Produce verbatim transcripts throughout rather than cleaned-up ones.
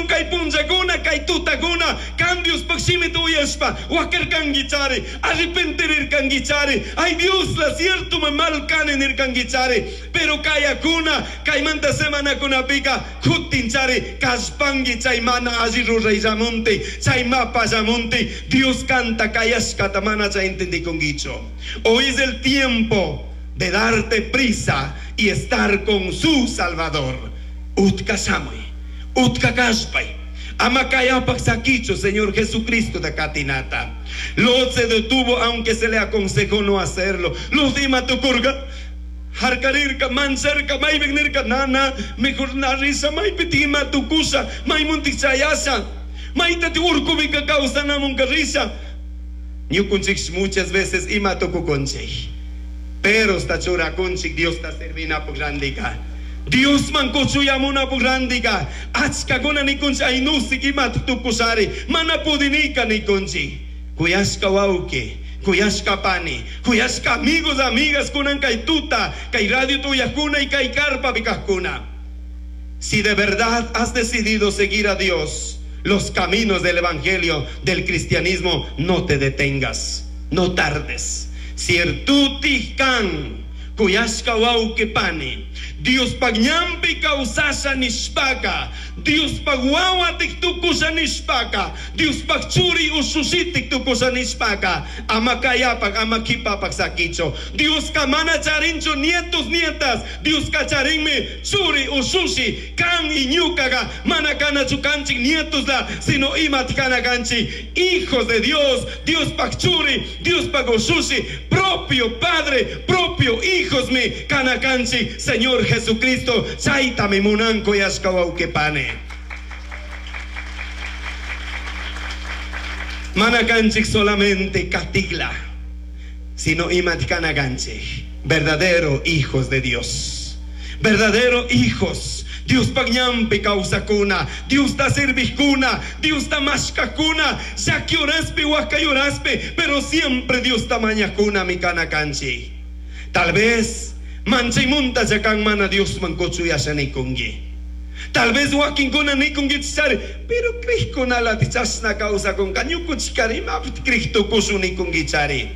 kay punllakuna kay tutakuna kan Diospaj shimita uyashpa wakarkankichari, arrepentirirkankichari. Ay Dios, la cierto me mal kani nirkankichari. Pero kayakuna kaymanta semanakunapika kutinchari kallpanki chay mana alli rurayllamunti, chay mapallamunti. Dios kanta kayashkata mana chay entendikunkichu. Hoy es el tiempo de darte prisa y estar con su Salvador. Utka shamuy, utka kallpay. Ama kayapak sakichu, Señor Jesucristo de katinata. Lot se detuvo aunque se le aconsejó no hacerlo. Lot ima tukurka, harkarirka, mancharka, maypik nana, mejor na risha, maypi ima tukusha, maymuntik chayasha, maytati urkupika kawsanamunka risha. Ñukunchik muchas veces ima tukukunchik. Pero sta churakunchik Dios ta servinapuk randika. Dios man kuchuyamuna randika. Achkakuna nikunchik aynusik ima tukushari. Mana pudinika nikunchik. Kuyashka wawki, kuyashka pani, kuyashka amigos, amigas kunan kay tuta, kay radio tuyakuna y kay karpa kajkuna. Si de verdad has decidido seguir a Dios, los caminos del evangelio, del cristianismo, no te detengas, no tardes. Ciertuti kan, kuyashka wawki pani, Dios ñanpi kawsasha nishpaka, Dios wawatik tukusha nishpaka, Dios churi ushushitik tukusha nishpaka, ama kayapak, ama kipapak sakicho. Dios mana charinchu nietos, nietas, Dios charinmi churi ushushi, kan y ñukaga, mana kanachu kanchik nietos la, sino imat kana kanchik, hijos de Dios, Dios pak churi, Dios pak ushushi, propio padre, propio hijos mi kana kanchik, Señor Jesucristo, chaytami munan kuyashka wawqi pani. Mana kanchik solamente katigla, sino imat kana kanchik, verdadero hijos de Dios, verdadero hijos. Dios ñanpi kawsakuna, Dios ta servijkuna, Dios ta mashkakuna, llaki horaspi, wakay horaspi, pero siempre Dios ta mañakuna mi kana kanchik. Tal vez manchaymunta kan mana Dios man kuchuyasha nikunki. Tal vez wakinkuna nikunkichari, pero crijkunala chashna kawsakunka, ñukuchikari imapit crij tukushun nikunkichari.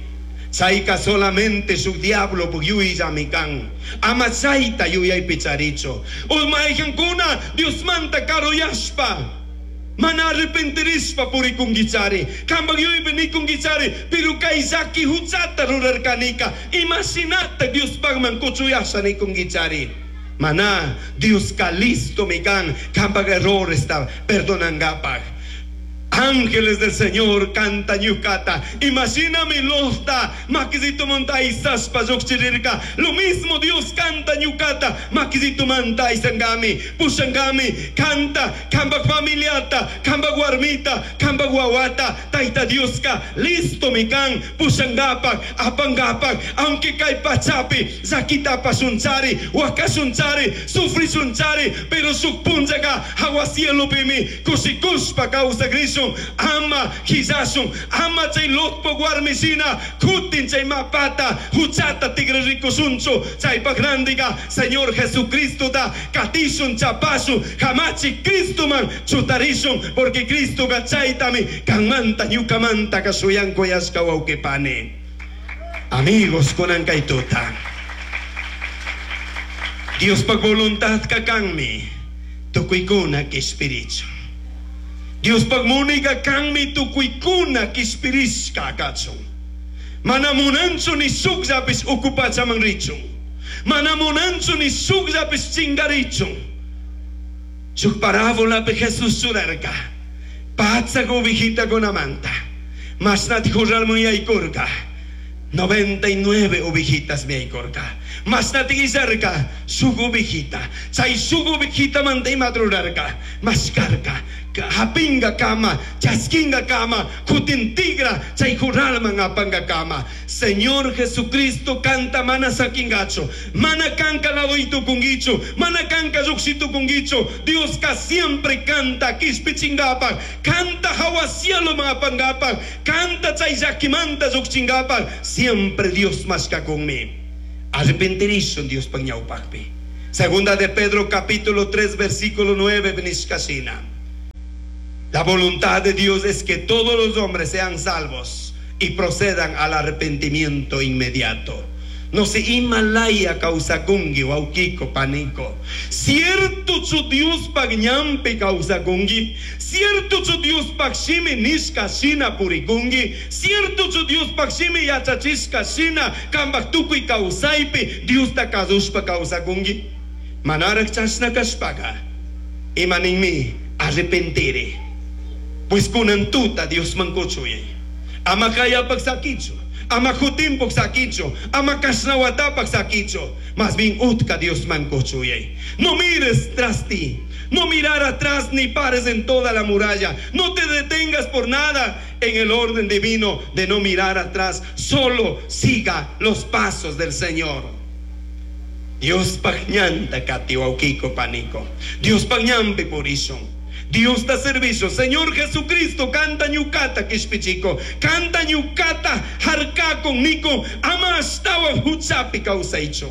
Chayka solamente su diablo yuyllami kan. Ama chayta yuyaypi charichu. O mayqankuna Dios manta karuyashpa, mana arrepentirishpa purikunkichari. Kampak yuyaypi nikunkichari, pero kay llaki huchata rurarkanika. Imashinata Diospakman kuchuyasha nikunkichari. Mana Dioska listo mi kan, kampak erroresta perdonangapak. Ángeles del Señor canta ñukata. Imagíname losta, makisito monta isaspa llukchirirka. Lo mismo Dios canta ñukata, makisito manta isangami, pushangami, canta, kamba familiata, kamba warmita, kamba wawata, taita Dioska, listo mi kan, pushangapak, apangapak, aunque kay pachapi, zakita pasunchari, wakasunchari, sufrisunchari, pero suk punchaka, agua cielo pimi, kusikuspa causa grishun, ama hisasun, ama chay Lotpo warmisina, kutin chay mapata, huchata tigrarikusunchu, chaypak randiga, Señor Jesucristo da, katishun chapasu, hamachi Cristo man, chutarishun, porque Cristo gachaytami, kanmanta ñukamanta kasuyanko yashka wawqipani. Amigos kunan kay tuta. Dios pa voluntad kakanmi, tukuykuna kishpirichun. Dios munayka kanmi tukuykuna kishpirishka kachun. Mana munanchu ni shukllapis uku pachaman richun. Mana munanchu ni shukllapis chingarichun. Shuk parábolapi Jesús churarka. Patsak ovejitakunamanta. Mashnati jurralman yaykurka. Noventa y nueve ovejitas mi yaykurka. Mashnati illarka shuk ovejita. Chay shuk ovejitamanta imata rurarka. Mashkarka. Hapinga kama, chaskinga kama, kutin tigra, chay juralman apanga kama. Señor Jesucristo canta mana sakingacho, mana kanka ladoito kungicho, mana kanka yuxito kungicho. Dios ka siempre canta kishpichingapa, canta hawa cielo mapangapa, canta chay yakimanta yuxchingapa. Siempre Dios masca conmigo. Arrepentirizo Dios pañaupakpi. Segunda de Pedro capítulo tres versículo nueve benishkasina. La voluntad de Dios es que todos los hombres sean salvos y procedan al arrepentimiento inmediato. No se Himalaya kawsakunki wawkiko paniko. Cierto chu Diospaj ñanpi kawsakunki. Cierto chu Diospaj shimi nishka shina purikunki. Cierto chu Diospaj shimi yachachishka shina kambaj tukuy kawsaypi Diosta kasushpa kawsakunki. Manaraj chashna kashpaka ima ninmi arrepentiri. Pues kunan tuta Diosman kuchuyay. Ama kayapaj sakichu. Ama kutimpuk sakichu, ama kashnawatapak sakichu. Más bien utka Diosman kuchuyay. No mires tras ti, no mirar atrás ni pares en toda la muralla. No te detengas por nada en el orden divino de no mirar atrás. Solo siga los pasos del Señor. Diospaj ñanta kati wawkiko paniko. Diospaj ñanpi purishun. Diosta servicio, Señor Jesucristo, kanta ñukata kishpichiko, kanta ñukata harkakun niko, ama ashtawan huchapi kawsaichu.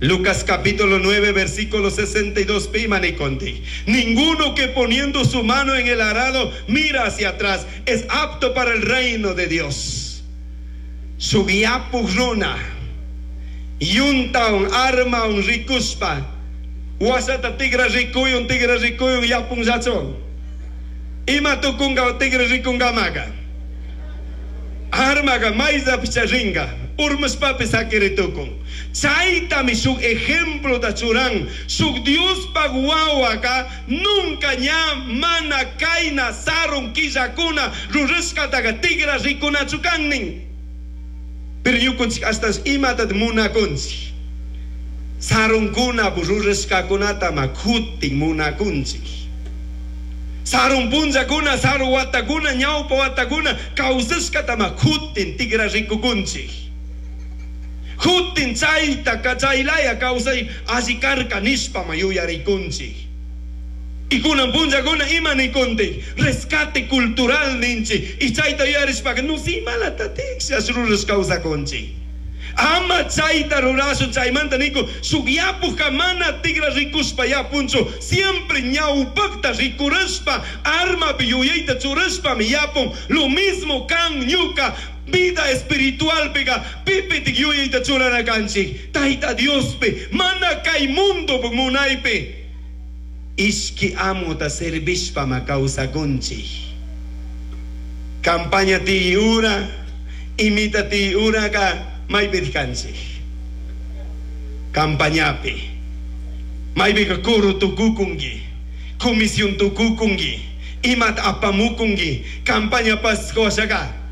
Lucas capítulo nueve, versículo sesenta y dos, pi ima niconti. Ninguno que poniendo su mano en el arado mira hacia atrás es apto para el reino de Dios. Sugiapu runa, yunta un arma un rikuspa. Wasata tigra rikuyun, tigra rikuyun, yapun zachon. Ima tukunga tigra rikunga maga. Armaga maiza picharinga. Urmas papi sakiritukun. Chaytami shuk ejemplo da churan. Shuk Dios pagwawaka nunca ña mana kaina sarun killakuna rurashkataga tigra rikunachu kannin. Pero ñukunchik hasta imatat munakunchik. Sarunkuna rurashkakunata makutin munakunchik. Sarun punllakuna, saru watakuna, ñawpa watakuna, kawsashkata makutin tigra rikukunchik. Kutin chayta kachaylaya kawsay alli karka nishpa mayuyarikunchik. Y kunan punllakuna ima nikuntik, rescate cultural ninchik. Y chayta yuyarishpaka, no si malata tikshas rurash kawsakunchik. Ama chayta rurashun chaymanta niko, shuk yapuka mana tigra rikushpa yapunchu, siempre ñawpakta rikurashpa, armapi yuyayta churashpa mi yapun, lo mismo kan ñuka, vida espiritual pega, pipitik yuyayta churana kanchik, Tayta Diospi, mana kay mundo munaypi. Ishki amuta servishpa ma kawsakunchik. Campaña ti ura, imita ti ura ka, maypi kanchik. Campañapi. Maypika coro tukukunki, comisión tukukunki, imat apamukunki, campaña pascuashaka.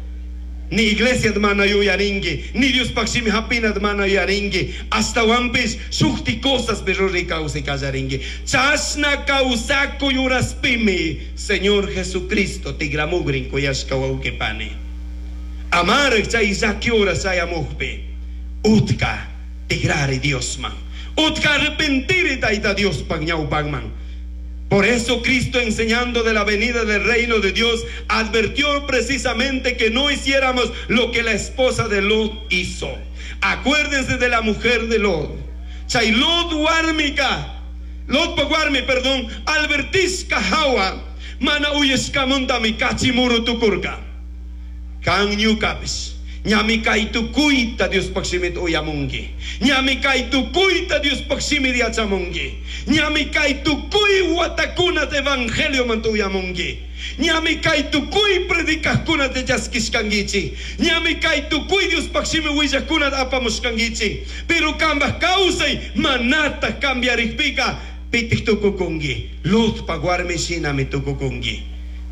Ni iglesia mana yuyarinki, ni Dios pakshimi hapina mana yuyarinki, hasta wampis shukti cosas pero rikawsi kallarinki. Chashna kawsaku yuraspimi, Señor Jesucristo tigramugrin kuyashka wawqipani. Amar chay llaki horas chayamukpi, utka tigrari Diosman, utka arrepentiri Tayta Diospaj ñawpakman. Por eso Cristo, enseñando de la venida del reino de Dios, advirtió precisamente que no hiciéramos lo que la esposa de Lot hizo. Acuérdense de la mujer de Lot. Chay Lot warmika, Lot warmi, perdón, albertisca hawa, mana uyeshkamuntami kachimuru tukurka. Kan ñukapis, ñami kay tukuyta Diospaj shimita uyamunki. Ñami kay tukuyta Diospaj shimi yachamunki. Ñami kay tukuy watakunata evangelio manta uyamunki. Ñami kay tukuy predicajkunata chaskishkankichik. Ñami kay tukuy Diospaj shimi willajkunata apamushkankichik. Pero kambaj kawsay manata cambiarikpika pitik tukukunki. Lotpa warmi shinami tukukunki.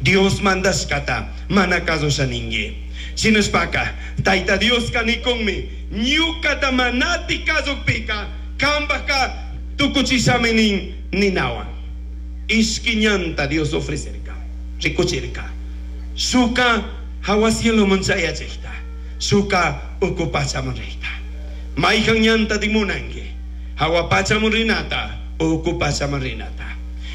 Dios mandashkata mana kasushaninki. Shinashpaka Tayta Dioska nikunmi ñukata manati kasukpika kambajka tukuchishami nin ninawan. Ishki ñanta Dios ofrecerka, rikuchirka. Shuka hawa cieloman chayachikta, shuka uku pachaman rikta. Mayjan ñanta dimunanki, hawa pachaman rinata, uku pachaman rinata.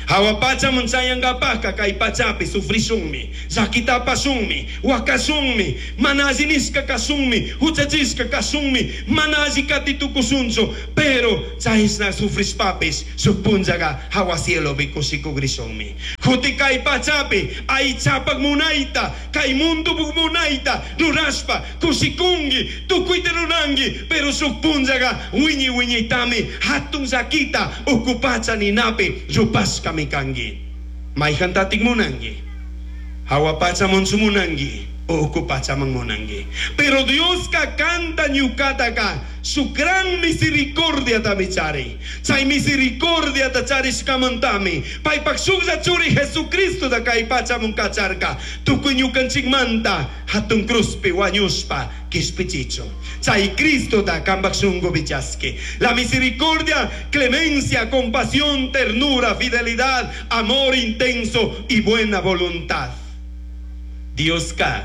Hawa pachaman chayankapajka kay pachapi sufrishunmi, llakitapashunmi, wakashunmi, mana alli nishka kashunmi, huchachishka kashunmi, mana alli katitukushunchu, pero chayshna sufrishpapis shuk punllaga hawa cielopi kushikugrishunmi. Juti kay pachapi aychapak munayta kay mundupuk munayta rurashpa kushikunki tukuyta ruranki pero shuk punllaqa wiñay wiñaytami hatun llakita uku pacha ninapi rupashkami kanki. Mayjantatik munanki? Hawa pachamanchu munanki uku pachaman munanki? Pero Dioska kanta ñukataka su gran misericordia tami chari. Chay misericordia ta charishkamantami paypak shuklla churi Jesucristo ta kay pachaman kacharka tukuy ñukanchikmanta hatun cruzpi wañushpa kishpichichun. Chay Cristo ta kampak shunkupi chaski. La misericordia, clemencia, compasión, ternura, fidelidad, amor intenso y buena voluntad. Dioska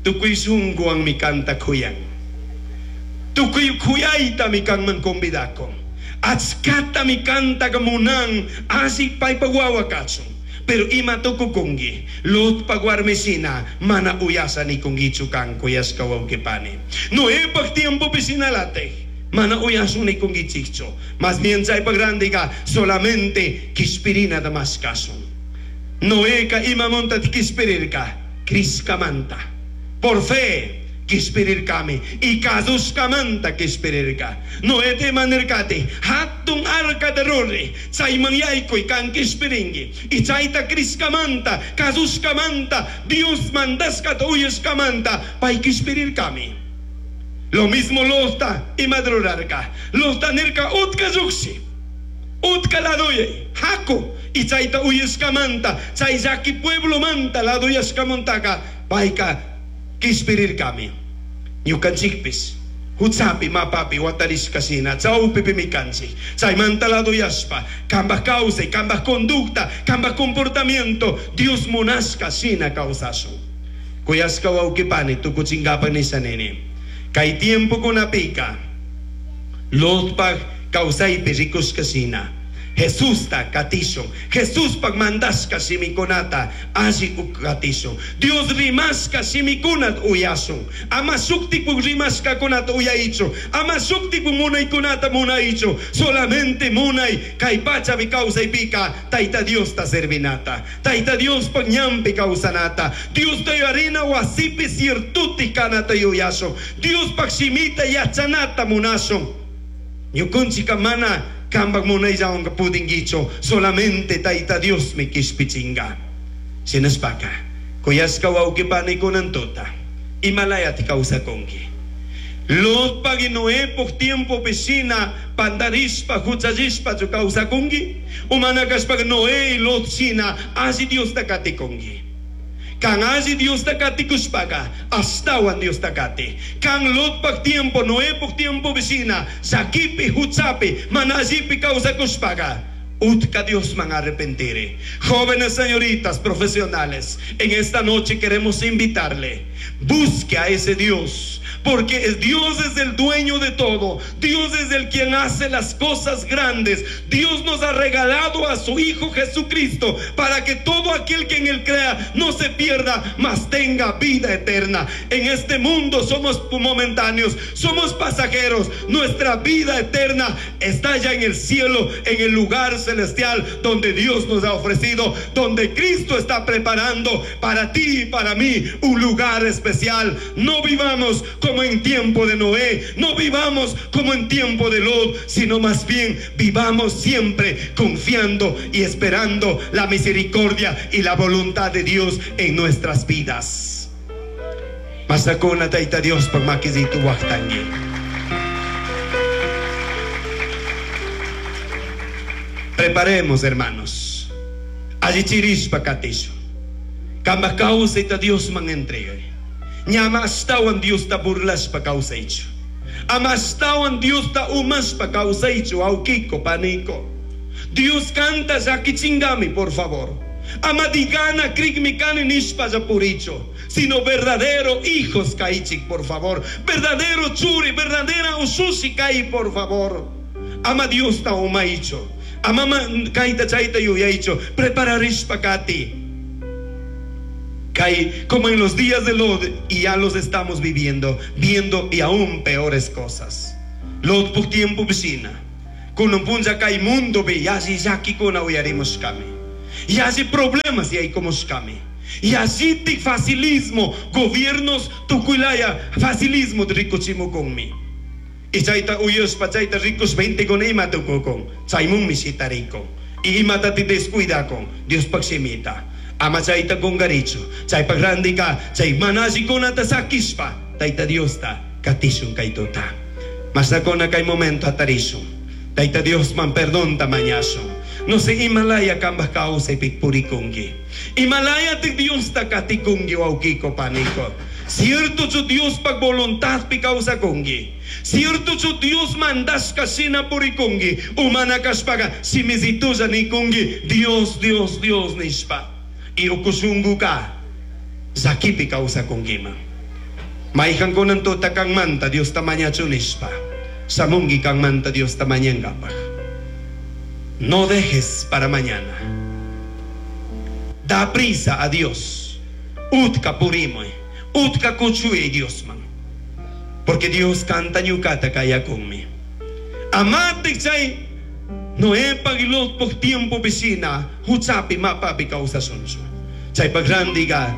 tukuy shunkuwanmi kanta kuyan. Tukuy kuyaytami kanman convidakun. Achkatami kantaka munan alli paypak wawa kachun. Pero ima tukukunki Lotpak warmishina mana uyasha nikunkichu kan kuyashka wawqipani. Noepak tiempopi shinalatik mana uyashun nikunkichikchu. Más bien chaypak randiqa solamente kishpirinata mashkashun. Noeka imamunta kishpirirka Crishkamanta. Por fe kishpirirkami y kasushkamanta kishpirirka. Noé te manirkati hatun arka de ruri chayman yaykuy kan kishpirinki. Y chayta crishkamanta kasushkamanta Dios mandashkata uyashkamanta pay kishpirirkami. Lo mismo Lota ima rurarka. Lota nirka utka lluqshi utka laduyay haku. Y chayta uyashkamanta chay llaki pueblomanta laduyashkamantaka payka kishpirirkami. Ñukanchikpis huchapi mapapi watarishkashina chawpipimi kanchik. Chaymanta laduyashpa kambaj kawsay, kambaj conducta, kambaj comportamiento Dios munashka shina kawsashun. Kuyashka wawqipani tukuchinkapak nisha nini. Kay tiempokunapika Lotpak kawsaypi rikushkashina Jesusta katishun, Jesuspak mandashka shimikunata alli katishun, Dios rimashka shimikunata uyashun, ama shuktikpuk rimashkakunata uyaychu, ama shuktikpuk munaykunata munaychu, solamente munay kay pachapi kawsaypika Tayta Diosta servinata, Tayta Diospak ñanpi kawsanata, Diosta yuyarina wasipi ciertuti kanata yuyashun, Diospak shimita yachanata munashun. Ñukunchika mana kambak munayllawanka pudinkichu, solamente Tayta Dios mi kishpichinga. Shinashpaka kuyashka wawqipani tuta imalayati kawsakunki. Lotpak y Noepuk tiempopi shina pandarishpa huchallishpachu kawsakunki? Umana kashpaka Noé y Lot shina alli Diosta katikunki. Kan alli Diosta katikushpaka ashtawan Diosta kati. Kan Lotpak tiempo, Noepuk tiempo shina llakipi huchapi mana allipi kawsakushpaka utka Diosman arrepentire. Jóvenes señoritas profesionales, en esta noche queremos invitarle. Busque a ese Dios, porque Dios es el dueño de todo. Dios es el quien hace las cosas grandes. Dios nos ha regalado a su Hijo Jesucristo para que todo aquel que en él crea no se pierda, mas tenga vida eterna. En este mundo somos momentáneos, somos pasajeros. Nuestra vida eterna está ya en el cielo, en el lugar celestial donde Dios nos ha ofrecido, donde Cristo está preparando para ti y para mí un lugar especial. No vivamos como en tiempo de Noé, no vivamos como en tiempo de Lot, sino más bien vivamos siempre confiando y esperando la misericordia y la voluntad de Dios en nuestras vidas. Masakuna Tayta Dios por makisitu waqtangi. Preparemos, hermanos. Allichirishpa katishu. Kambaj kawsayta Diosman entregay. Ñama ashtawan Diosta burlashpa kawsaychu. Ama ashtawan Diosta umashpa kawsaychu, awkiko, paniko. Dios kanta llakichingami, por favor. Ama digana krikmi kani nishpa llapurichu, sino verdadero hijos kaychik, por favor. Verdadero churi, verdadera usushi kay, por favor. Ama Diosta umaychu. Ama kayta chayta yuyaychu. Prepararishpa kati. Kay, como en los días de Lot, y ya los estamos viviendo, viendo y aún peores cosas. Lot por tiempo vecina. Kunan punlla kay mundo be yalli llakikuna uyarimushkami. Yalli problemas yaykushkami. Yallitik facilismo, gobiernos tukuylaya facilismo rikuchimukunmi. Y chayta uyashpa chayta rikushpa gentekuna ima tukukun, chaymunmi shitarikun. Y imatati descuidakun Diospaj shimita. Ama chayta kungarichu. Chaypaj randika chay mana allikunata sakishpa Tayta Diosta katishun kay tuta. Mashnakuna kay momento hatarishun. Tayta Diosman perdonta mañashun. No sé imalaya kambaj kawsaypi purikunki. Imalaya ti Diosta katikunki wawkiko paniko. Cierto chu Diospaj voluntadpi kawsakunki. Cierto chu Dios mandashka shina purikunki. Umana kashpaga shimisitulla nikunki. Dios, Dios, Dios nishpa. Y ukushunguka llakipi kawsakunkiman. Mayqankunan tuta kanmanta Diosta mañachun nishpa. Shamunki kanmanta Diosta mañankapaj. No dejes para mañana. Da prisa a Dios. Utka purimuy. Utka kuchuy Diosman. Porque Dios kanta ñukata kayakunmi. Amate chay Noepaj y Lotpaj tiempo vecina, huchapi mapapi kawsashunchu. Chaypaj randiga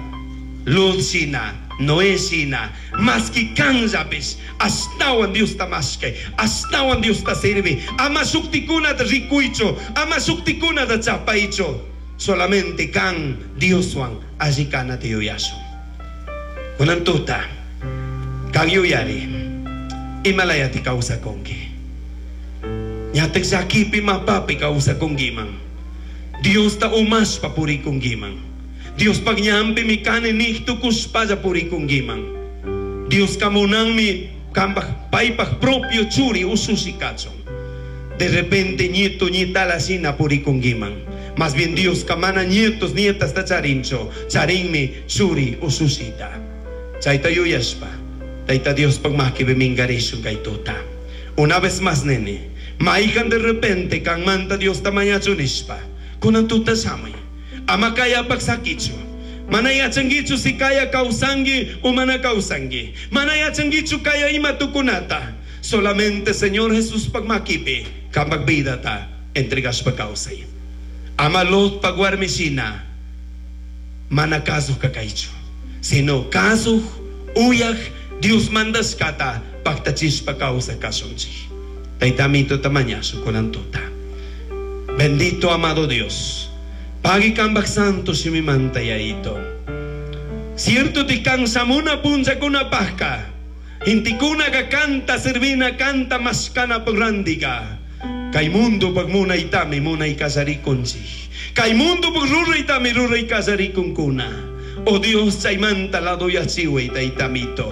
Lot shina, Noé shina, maski kanllapis, ashtawan Diosta mashkay, ashtawan Diosta sirvi, ama shuktikunata rikuychu, ama shuktikunata chapaychu. Solamente kan Dioswan alli kanata yuyashun. Kunan tuta, kan yuyari, imalayati kawsakunki. Ñatak llakipi mapapi kawsakunkiman. Diosta umashpa purikunkiman. Diospaj ñanpimi kani nij tukushpalla purikunkiman. Dioska munanmi kambaj paypaj propio churi usushi kachun. De repente nieto nietala shina purikunkiman. Más bien Dioska mana nietos nietas ta charinchu, charinmi churi usushita. Chayta yuyashpa, Tayta Diospaj makipi minkarishun kay tuta. Una vez más, nene, mayqan de repente kanmanta Diosta mañachun nishpa, kunan tuta shamuy. Ama kayapaj sakichu. Mana yachankichu si kaya kawsanki o mana kawsanki. Mana yachankichu kaya ima tukunata. Solamente Señor Jesuspaj makipi kambaj vidata entregashpa kawsay. Ama Lotpaj warmi shina mana kasuj kaychu, sino kasuj uyaj Dios mandashkata paktachishpa kawsaj kashunchik. Tayta Amito mañashun kunan tuta. Bendito amado Dios. Pagui kambaj santo shimimanta Yayito. Cierto ti kansamuna punchakuna pajka. Intikuna ka kanta servina kanta mashkana pagrandiga. Kay mundo pag munaytami munay kasarikunchik. Kay mundo pag ruraytami ruray kasarikunkuna. Oh Dios, chaymanta lado yachiway Tayta Amito.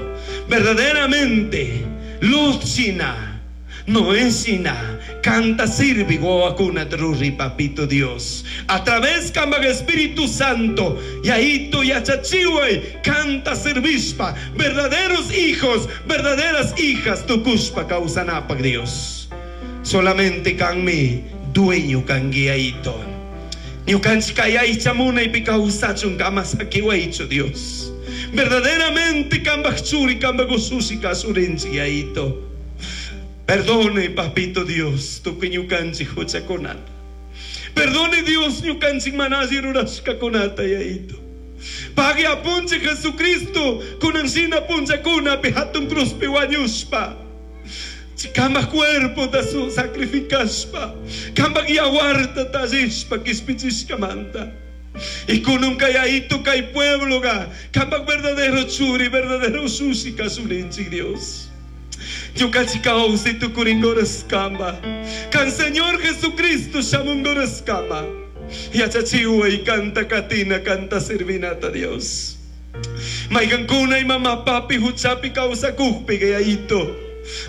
Verdaderamente, Lot shina, Noé shina, kanta sirvi wawakuna ruri papito Dios. A través kambaj Espíritu Santo, Yayito yachachiway, kanta servishpa, verdaderos hijos, verdaderas hijas, tukushpa kawsanapaj Dios. Solamente kanmi dueño kanki Yayito. Ñukanchik kay aycha munaypi kawsachun ama sakiwaychu Dios. Verdaderamente kambaj churi, kambaj usushi kasurinchik Yayito. Perdone, papito Dios, tukuy ñukanchik huchakunata. Perdone Dios, ñukanchik mana alli rurashkakunata Yayito. Pagui apunchik Jesucristo, kunan shina punchakunapi hatun cruzpi wañushpa. Kambaj cuerpo ta su sacrificashpa, kambaj yawarta tallishpa kishpichishkamanta. Y kunun kay Yayito kay pueblo ga, kambaj verdadero churi, verdadero usushi kasurinchik Dios. Ñukanchik kawsay tukuringoraskama. Kan Señor Jesucristo shamungoraskama. Yachachiway kanta katina kanta servinata Dios. Mayqankuna mama papi huchapi kawsakujpi Yayito.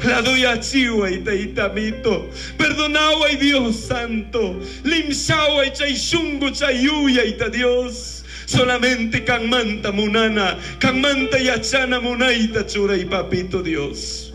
Ladoyachiway Tayta Amito. Perdonaway Dios Santo. Limshaway chay shungu chay yuyayta Dios. Solamente kanmanta munana, kanmanta yachana munayta churay papito Dios.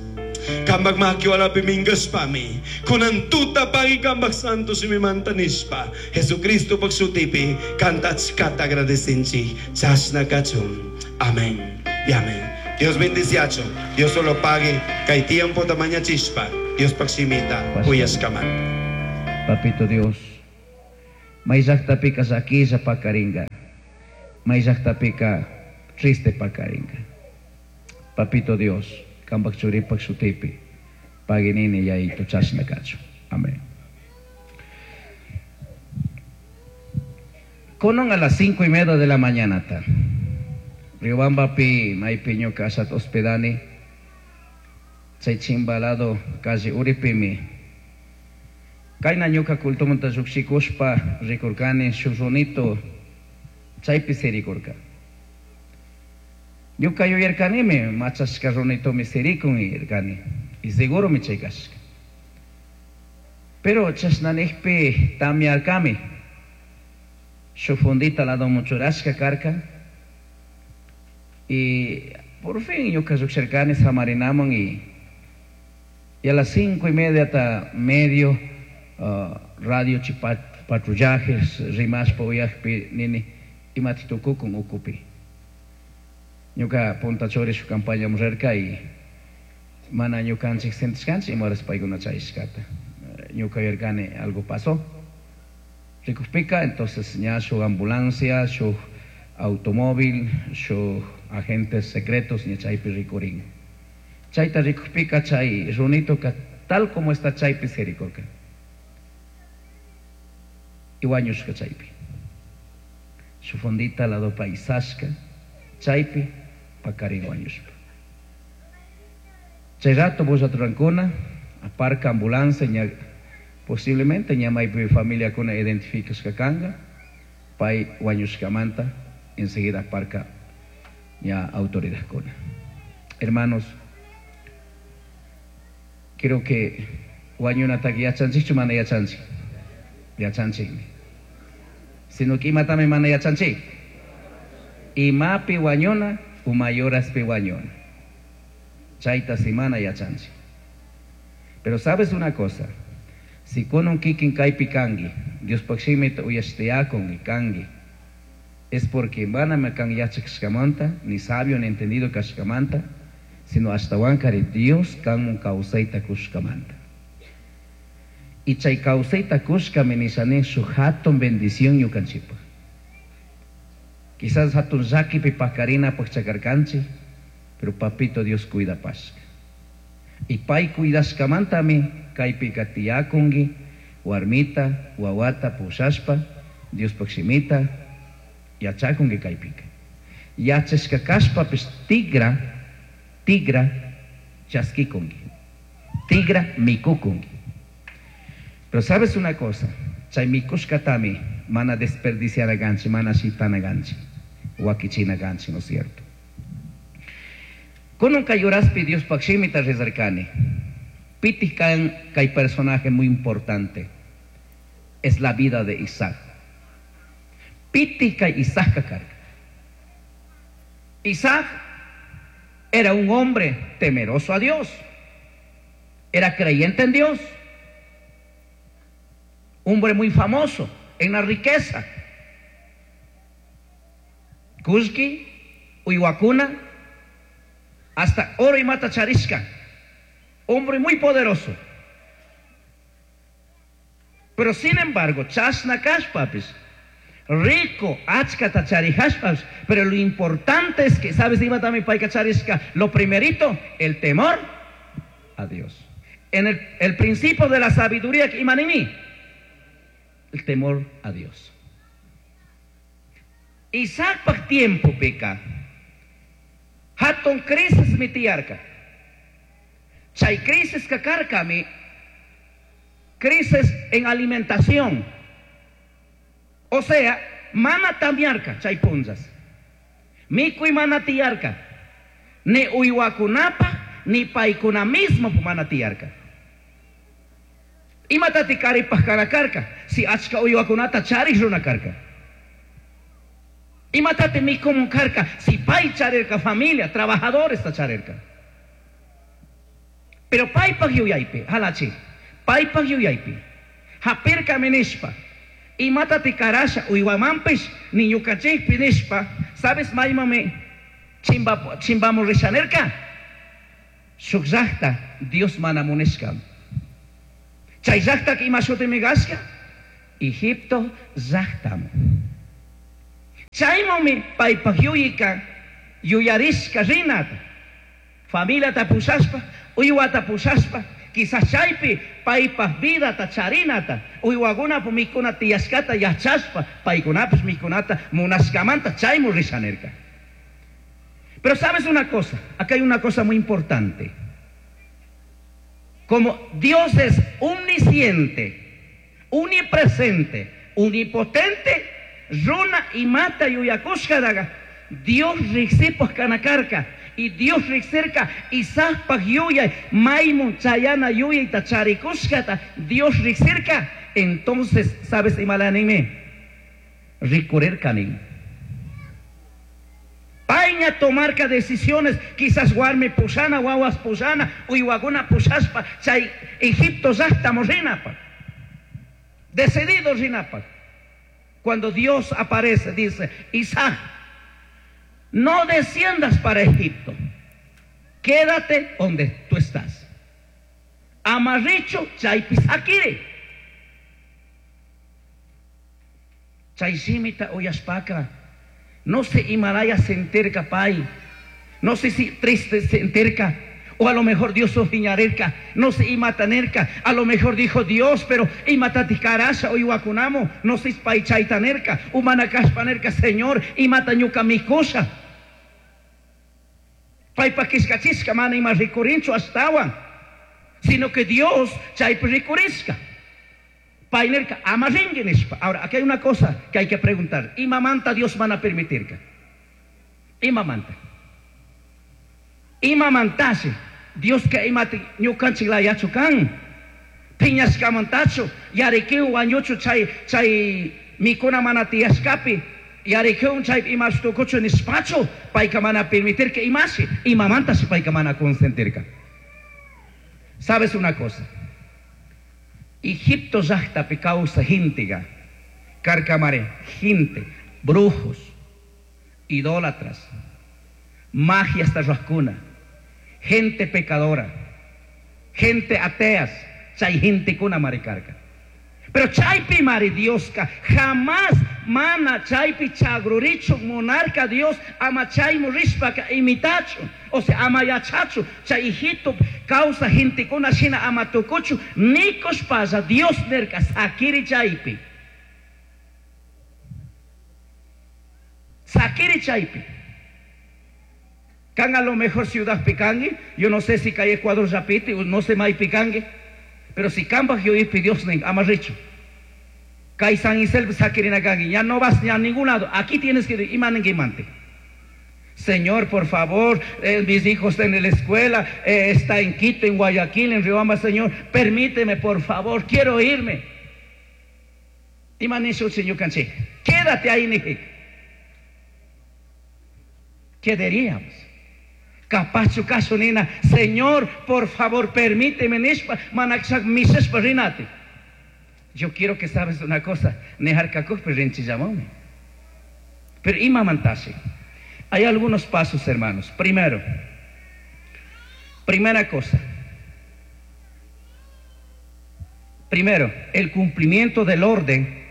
Kambaj maki walapi minkashpami. Kunan tuta pagui kambaj santo shimimanta nishpa. Jesucristo paj shutipi kanta achkata agradecinchik. Chashna kachun. Amén y amén. Dios bendiciacho. Dios solo pague. Kay tiempo tamaña chispa. Dios paj shimita. Uyashkamanta. Papito Dios, May llaqtapika llakilla pakaringa. May llaqtapika triste pakaringa. Papito Dios, kampak churipak shutipi, paginini yayito chashna kachun. Amén. Konon a las cinco y media de la mañana ta. Riobambapi maypi ñuka ashat hospedani. Chay chimbalado calle Uripimi. Kayna ñuka cultumanta lluqshikuspa rikurkani shuk runito chaypi sirikurka. Ñuka yuyarkanimi machashka runitomi sirikun yuyarkani. Y seguromi chay kashka. Pero chashnanijpi tamyarkami. Shuk fundita ladoman churashka karka. Y por fin ñuka lluqshirkani samarinaman y, y a las cinco y media hasta medio uh, radio chi patrullajes rimashpa uyakpi nini imati tukukun ukupi. Ñuka punta churi shuk campaña rirka y mana ñukanchik sentishkanchik ima horas paykuna chayashkata. Ñuka yuyarkani algo pasó. Rikukpika entonces ña shuk ambulancia, shuk automóvil, shuk agentes secretos ña chaypi rikurin. Chayta rikukpika chay runitoka tal como está chaypi sirikurka. Y wañushka chaypi. Shuk fundita lado paisashka chaypi pakarin wañushpa. Chay rato bulla turankuna, aparca ambulancia ña posiblemente ña maypi familiakuna identificashka kanga, pay wañushkamanta enseguida aparca ña autoridadkuna. Hermanos, creo que wañunataka yachanchikchu mana yachanchik? Yachanchikmi. Sino que imatami mana yachanchik. Imapi wañuna, umayoraspi wañuna. Chayta simana yachanchik. Pero sabes una cosa, si kunan kikin kaypi kanki, Diospaq shimita uyashtiyakun kanki, es porque manami kan yachashkamanta, ni sabio ni entendido kashkamanta, sino ashtawankari Dios kanmun kawsayta kushkamanta. Y chay kawsayta kushkami nishani shuk hatun bendición ñukanchikpaq. Quizás hatun llakipi pakarinapaq chakarkanchik, pero papito Dios cuidapashka. Y pay cuidashkamantami kaypika tiyakunki, warmita, wawata pushashpa, Diospaq shimita yachakunki kaypika. Yachashka kashpapis tigra, tigra chaskikunki, tigra mikukunki. Pero sabes una cosa, chay mikushkatami mana desperdiciaraganchi, mana shitanaganchi, wakichinaganchi, ¿no es cierto? Kunan kay horaspi Diospaq shimita rezarkani. Pitij kan kay personaje muy importante. Es la vida de Isaac. Pitij kay Isaac kakarka. Isaac era un hombre temeroso a Dios. Era creyente en Dios. Hombre muy famoso en la riqueza. Kushki, Uywakuna, hasta oro y mata charishka. Hombre muy poderoso. Pero sin embargo, chasna kashpapis, rico, achkata charihashpapis, pero lo importante es que, ¿sabes? Iba también paika charishka, lo primerito, el temor a Dios. En el, el principio de la sabiduría, imanimi, el temor a Dios. Isaac pak tiempo peca. Hatun crisis mitiarca. Chay crisis kakarkami, crisis en alimentación. O sea, mana tamiarca, chay punzas. Mikui mana tiarca. Ni uywakunapa, ni paikuna mismo mana tiarca. Imatati karipaj karakarka, si achka uywakunata charij runa karka. Imatati mikumun karka, si pay charirka familia, trabajadores ta charirka. Pero paypaj yuyaypi, halachi, paypaj yuyaypi, hapirka minishpa, imatati karasha uywamanpish, ni ñukanchikpi nishpa, sabes maymami chimba, chimbamu rishanerka? Shuk llaqta Dios mana munishka. Chay llaqtaka ima shutimi kashka? Egipto llaqtaman. Chaymanmi paypaq yuyayka yuyarishka rinata. Familiata pushashpa, uywata pushashpa, quizás chaypi paypaq vidata charinata, uywakunapu mikuna tiyashkata yachashpa, paykunapish mikunata munashkamanta chaymu risha nirka. Pero sabes una cosa, acá hay una cosa muy importante. Como Dios es omnisciente, omnipresente, omnipotente, runa imata yuyakushkadaga, Dios riksipaj kanakarka, y Dios riksirka, Isaacpaj yuyay, maymun chayana yuyayta charikushkata, Dios riksirka, entonces, ¿sabes imalanime? Rikurirka nin. Payña tomarka decisiones, quizás warmi pushana, wawas pushana, uywakuna pushashpa, chay Egipto llaqtamu rinapaj. Decidido rinapaj. Cuando Dios aparece, dice, Isaac, no desciendas para Egipto, quédate donde tú estás. Amarricho chaypi sakiri. Chay shimita uyashpaka, no sé imalaya sentirka pay, no sé si triste sentirka, o a lo mejor Dios ofiñarerka, no sé imatanerka, a lo mejor dijo Dios, pero imatatikarasha o iwakunamo, no sé paychaytanerka, umanakashpanerka, Señor, imatañuka mikosha. Paypa kishkachishka mana ima rikurinchu ashtawan, sino que Dios chaypi rikurishka. Paynerka ama rinki nishpa. Ahora, aquí hay una cosa que hay que preguntar. Imamanta Dios mana permitirka? Imamanta. Imamantashi Dios que imati ñukanchik layachu kan. Piñashkamantachu yarikiwan wañuchu chay chay mikuna mana tiyashkapi yarikiwan chay imashtukuchu nishpachu payka mana permitirka imashi imamantashi payka mana consentirka. ¿Sabes una cosa? Egipto llaqtapi kawsaj gentega, karkamare, gente, brujos, idólatras, magias tarrascuna, gente pecadora, gente ateas, chay gente kuna maricarca. Pero chaypi mari Dioska, jamás mana chaypi chagrurichu monarca Dios ama chaymu rishpaka imitachu, o sea ama yachachu, chay Egipto causa gente kuna shina ama tukuchu, nikushpalla Dios nerka sakiri chaypi. Sakiri chaypi. Kan a lo mejor ciudad picangue, yo no sé si cae Ecuador rapite, no sé mai picangue, pero si kambaj yo ipi Dios nen ama richu. Kai San Isel sakirina kangi, ya no vas ni a ningún lado, aquí tienes que ir, imanengue. Señor, por favor, eh, mis hijos están en la escuela, eh, está en Quito, en Guayaquil, en Riobamba, Señor, permíteme, por favor, quiero irme. Imanishu, Señor Canché, quédate ahí, Nijik. ¿Qué diríamos? Capacho caso nina, Señor, por favor, permíteme, nishpa, manakshak misespa rinati. Yo quiero que sabes una cosa, nejarkakujpi rinchillamome. Pero imamantasi. Hay algunos pasos, hermanos. Primero, primera cosa. Primero, el cumplimiento del orden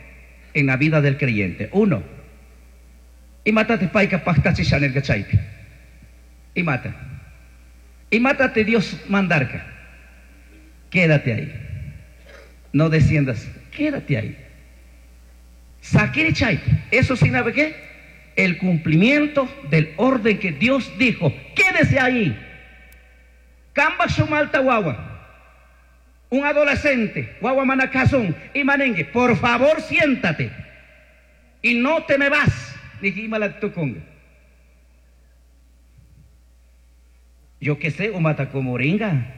en la vida del creyente. Uno, imátate payka paqtachi nirka chaypi. Imata. Imátate Dios mandarka. Quédate ahí. No desciendas. Quédate ahí. Sakiri chaypi. Eso significa qué? El cumplimiento del orden que Dios dijo. Quédese ahí. Kamba sumalta wawa. Un adolescente, wawa manakazón y manengue, por favor siéntate y no te me vas. Dije, imalatukunga. Yo qué sé, umatacomoringa.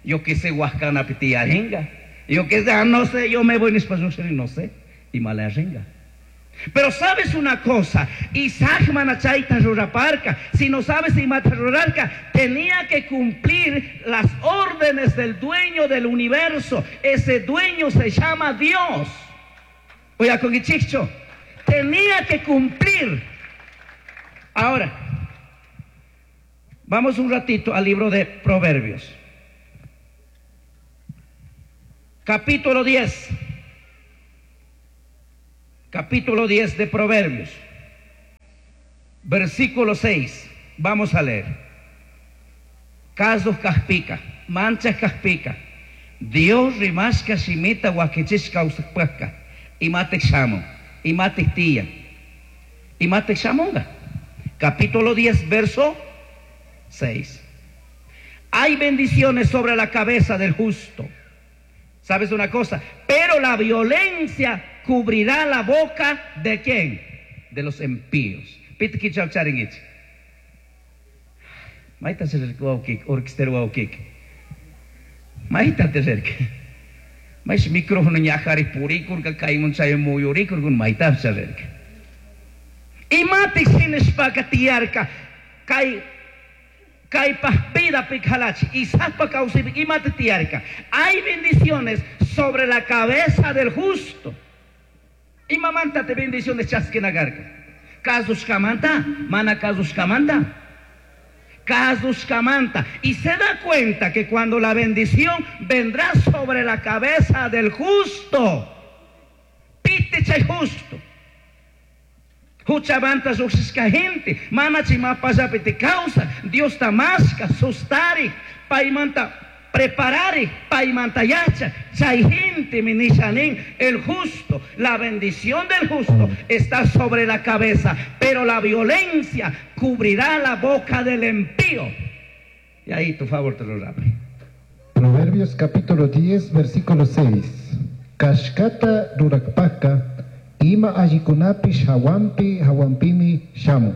Yo qué sé, huascana pitiaringa. Yo qué sé, ah, no sé, yo me voy en español, no sé. Y malarringa. Pero sabes una cosa, Isaac manachayta ruraparca, si no sabes imata rurarca, tenía que cumplir las órdenes del dueño del universo. Ese dueño se llama Dios. Oye, con Ichicho, tenía que cumplir. Ahora, vamos un ratito al libro de Proverbios. Capítulo diez. Capítulo diez de Proverbios, versículo seis. Vamos a leer. Kazuj kajpika, manchaj kajpika, Dios rimashka shimita wakichish kawsajpajka, imatik shamun, imatik tiyan, imatik shamunga. Capítulo diez, verso seis. Hay bendiciones sobre la cabeza del justo. ¿Sabes una cosa? Pero la violencia cubrirá la boca de ¿quién? De los impíos. Pitkichaucharingich. Maita serkik, orksterwaukik. Maita terk. Mais micrófono ñajari purikurka kaymun chay muyurikurkun maita serk. Imatik sinishpaka tiyarka kay kaypaj vida pikhalachi Isaacpa kawsaypi imata tiyarka. Hay bendiciones sobre la cabeza del justo. Imamanta te bendiciones chasquinagarka. Kazushkamanta, mana kazushkamanta. Kazushkamanta. Y se da cuenta que cuando la bendición vendrá sobre la cabeza del justo, pite chay justo. Huchamanta lluqshishka gente, mana chimapallapi te causa, Dios tamasca, sustari, paymanta preparari, paymanta yacha, chay gente minishanin, el justo, la bendición del justo está sobre la cabeza, pero la violencia cubrirá la boca del impío. Y ahí tu favor te lo rape. Proverbios capítulo diez, versículo seis. Kashkata rurakpaka, ima allikunapish hawanpi hawanpimi shamun.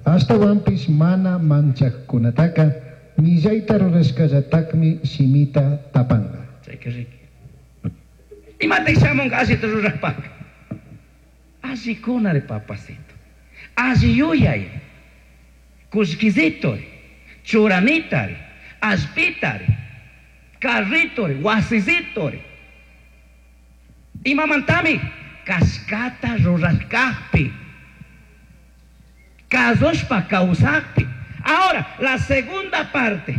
Ashtawanpish mana manchajkunataka, millayta rurashkallatakmi shimita tapanga. Chay, qué rico. Imata shamunga allita rurashpaka. Allikunari papacito. Alli yuyay. Kushkizitori, churanitari, allpitari, carritori, wasizitori. Imamantami kashkata rurashkajpi, kazushpa kawsajpi. Ahora, la segunda parte,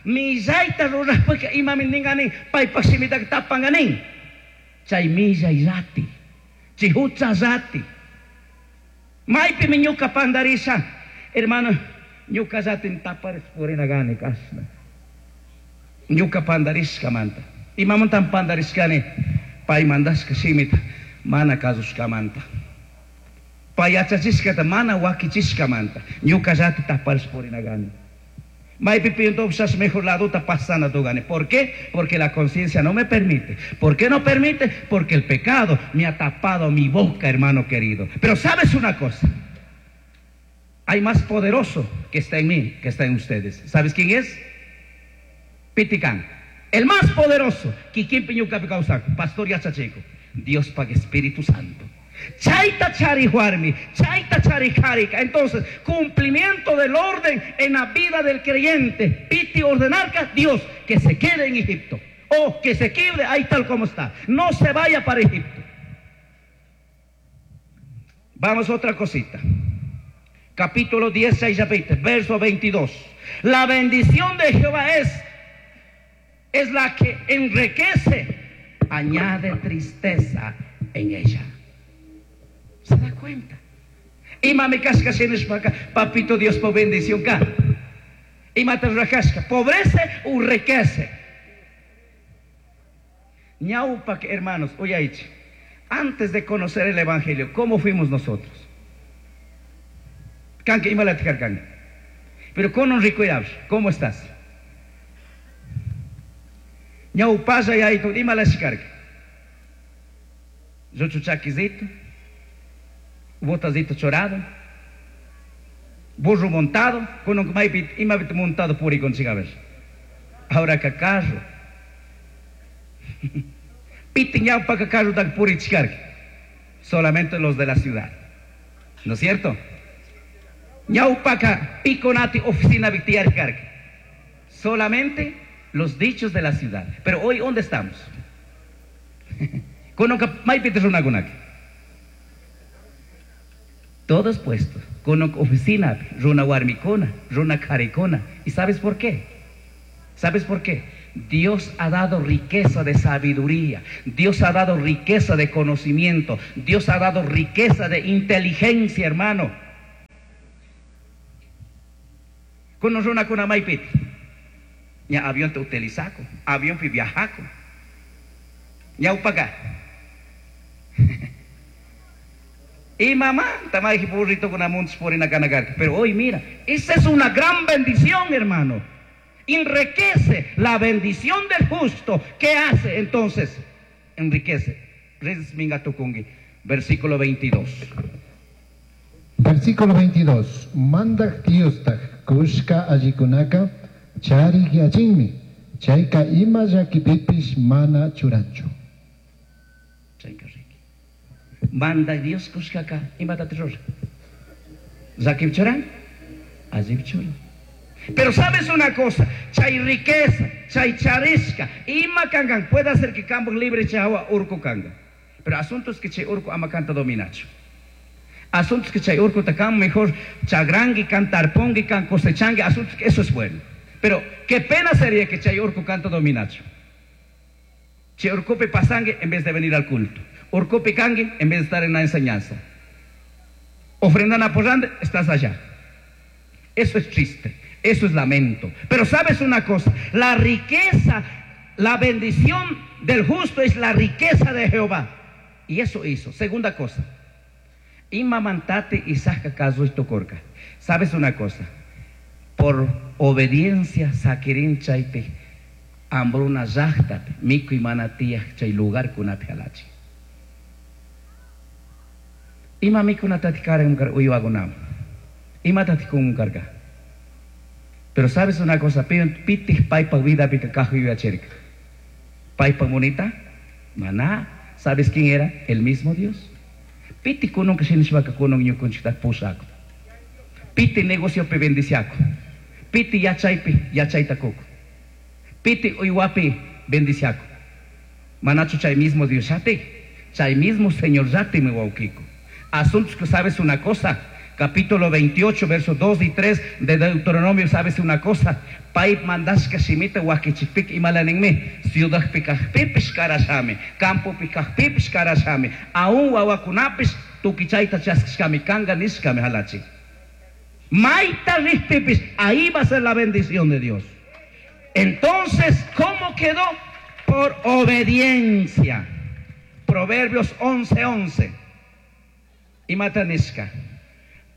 millayta rurashpaka imami ninganin, paypak shimitaka tapanganin. Chay millay rati, chay hucha rati. Maypimi ñuka pandarisha, hermano, ñuka ratin taparis purinagani kashna. Ñuka pandarishkamanta. Imamantan pandarishkani, pay mandashka shimita mana kazushkamanta. Pay yachachishkata mana wakichishkamanta. Ñuka rati taparis purinagani. Maypi pinto mejor ladota pasana tugani. ¿Por qué? Porque la conciencia no me permite. ¿Por qué no permite? Porque el pecado me ha tapado mi boca, hermano querido. Pero ¿sabes una cosa? Hay más poderoso que está en mí, que está en ustedes. ¿Sabes quién es? Piticán. El más poderoso. Kikin piñuca picausaco. Pastor Yachachico. Dios pague Espíritu Santo. Chaita chari huarmi, chaita chari jarica. Entonces, cumplimiento del orden en la vida del creyente. Piti ordenarca, Dios, que se quede en Egipto. O que se quede ahí tal como está. No se vaya para Egipto. Vamos a otra cosita. Capítulo dieciséis, verso veintidós. La bendición de Jehová es, es la que enriquece, añade tristeza en ella. ¿Se da cuenta? Y mami casca sinishpaka, papito Dios por bendición ka. Y mata rajasca, pobrece o riquece. Ñaupa, hermanos, oye, antes de conocer el evangelio, ¿cómo fuimos nosotros? Kanke, imalaticar kanke. Pero con un rico ¿cómo estás? Ñaupalla y ahí tú, imalaticar. Yo chuchaquizito, botazito chorado, burro montado, con un maipit, imabit montado puri con chigaves. Ahora que carro. Piti ñaupa que carro da puri chicar. Solamente los de la ciudad. ¿No es cierto? Ñaupaka piconati oficina victiar carga. Solamente los dichos de la ciudad. Pero hoy, ¿dónde estamos? Con un maipit runagunaki. Todos puestos, con oficina, runa warmicona, runa caricona. ¿Y sabes por qué? ¿Sabes por qué? Dios ha dado riqueza de sabiduría, Dios ha dado riqueza de conocimiento, Dios ha dado riqueza de inteligencia, hermano. Kuno runa kuna maypiti, ña avión te utilizaco, avión pi viajaco, ñawpaka. Y mamá, tamay burrito con amuntos por en. Pero hoy mira, esa es una gran bendición, hermano. Enriquece la bendición del justo. ¿Qué hace entonces? Enriquece. Versículo veintidós. Versículo veintidós. Mandak Diostaj kushka allikunaka charik yachinmi, chayka ima llakipipish mana churanchu. Chayka riki. Manda Dios kushkaka imata rura. Llakip churan, allip churan. Pero sabes una cosa, chay riqueza, chay charisca, ima kangan, puede hacer que campo libre chawa urku kanga. Pero asuntos que chay urku ama canta dominacho. Asuntos que chay urku takam mejor chagrangi, can tarpongi, can cosechangi, asuntos que eso es bueno. Pero qué pena sería que chay urku canta dominacho. Chay urkupe pasangue en vez de venir al culto. Urkupe kangue en vez de estar en la enseñanza. Ofrendan apoyando, estás allá. Eso es triste. Eso es lamento. Pero sabes una cosa, la riqueza, la bendición del justo es la riqueza de Jehová. Y eso hizo. Segunda cosa, imamantate y saca caso y tocorca. Sabes una cosa, por obediencia saquirin chaype hambruna llaqtapi mikuy mana tiyaq chay lugar kunapi halachi. Ima mikunatati karan uywakunaman, imatati kun karka. Pero sabes una cosa, pitij paypa vida pika kajo yuyachirka. Paypa monita, maná, ¿sabes quién era? El mismo Dios. Piti kunun kashinishwaka kunun ñukunchikta pushako. Piti negocio pe bendiciaco. Piti yachaypi yachayta kuku. Piti uywapi bendiciaco. Manachu chay mismo Dios yati, chay mismo Señor yati mi wawkiko. Asuntos que sabes una cosa. Capítulo veintiocho, versos dos y tres de Deuteronomio, sabes una cosa. Pay mandashka shimita wakichipik imalanenme, ciudad pikajpipish karashame, campo pikajpipish karashame, aún wawakunapis tukichayta chaskishkami kanga nishkame halachi. Maita rispipis, ahí va a ser la bendición de Dios. Entonces, ¿cómo quedó? Por obediencia. Proverbios once, once. Imatanishka.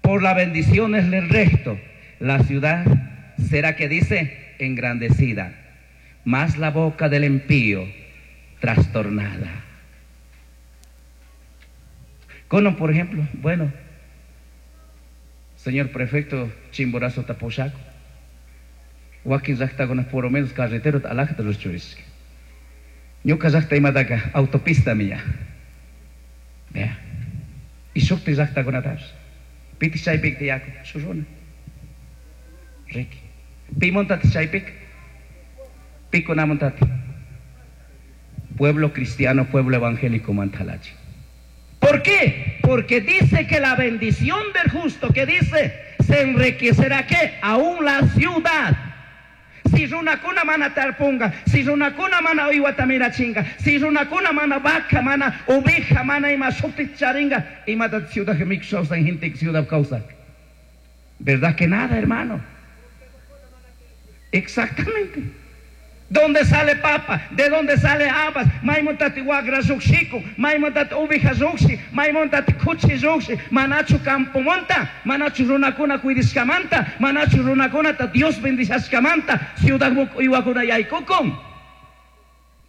Por las bendiciones del recto, la ciudad será que dice engrandecida, mas la boca del impío trastornada. Cono, por ejemplo, bueno, señor prefecto Chimborazo Tapochaco, Joaquín llaqtakuna por lo menos carretero alajata ruchurisqa. Ñuka llaqta imataka autopista mía. Vea. Y shukti llaqtakunatapas. Piti chaypik tiyaku, shuruna. Riki. Pimontati chaypik. Pikunamontati. Pueblo cristiano, pueblo evangélico mantalachi. ¿Por qué? Porque dice que la bendición del justo, que dice, se enriquecerá ¿qué? Aún la ciudad. Si runakuna mana tarpunga, si runakuna mana uywata mirachinga, si runakuna mana vaca, mana oveja, mana ima shukti charinga, imata ciudad mixausa gente ciudad causa. ¿Verdad que nada, hermano? Exactamente. ¿Dónde sale papa? ¿De dónde sale habas? Maymontati wagra rukshiku, maymontati oveja rukshi, maymontati kuchi rukshi, manachu campo monta, manachu runakuna kuidishkamanta, manachu runakunata Dios bendishashkamanta, ciudad uywakuna yaykukun.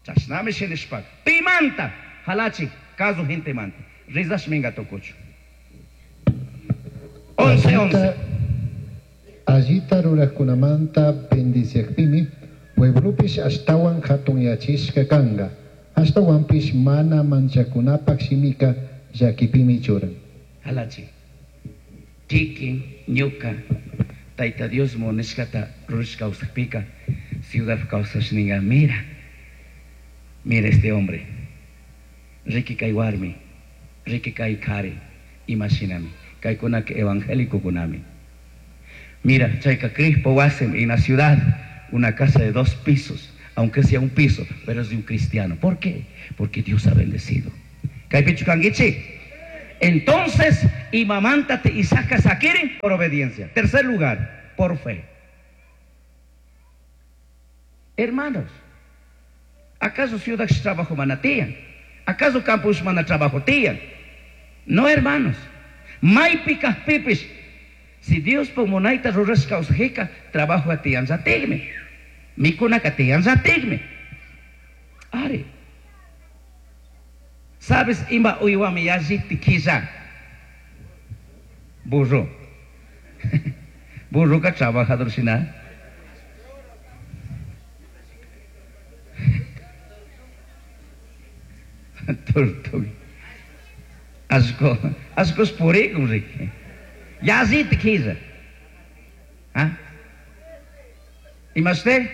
Chashnami shinishpak. Pimanta, halachi, caso gente manta. Rizash minga tokuchu. Once, once. Allita rurajkunamanta bendiciakpimi, pueblopish ashtawan hatunyachishka kanga, ashtawanpish mana manchakunapak shimika llakipimi churan. Halachi, kikin ñuka, Tayta Dios munishkata rurashka kawsakpika, ciudad kawsashninga, mira, mira este hombre, riki kay warmi, riki kay kari, imashinami, kaykunaka evangélico kunami. Mira, chayka Crispo wasim en la ciudad, una casa de dos pisos, Aunque sea un piso, pero es de un cristiano. ¿Por qué? Porque Dios ha bendecido. Kaypichu kankichik. Entonces, imamanta Isaac sakirin por obediencia. Tercer lugar, por fe. Hermanos, ¿acaso ciudad trabajo mana tiyan? ¿Acaso campus mana trabajo tiyan? No, hermanos. Maypi kajpipish. Si Dios munayta rurashka kawsajika, trabajo tiyanllatikmi. Mikunaka tiyanllatikmi. Ari. ¿Sabes ima uywami yalliti killa? Burro. Burroka trabajador shina. Tortuga. Asco, ascos purikun riki. Yalliti killa. ¿Ah? Imashte?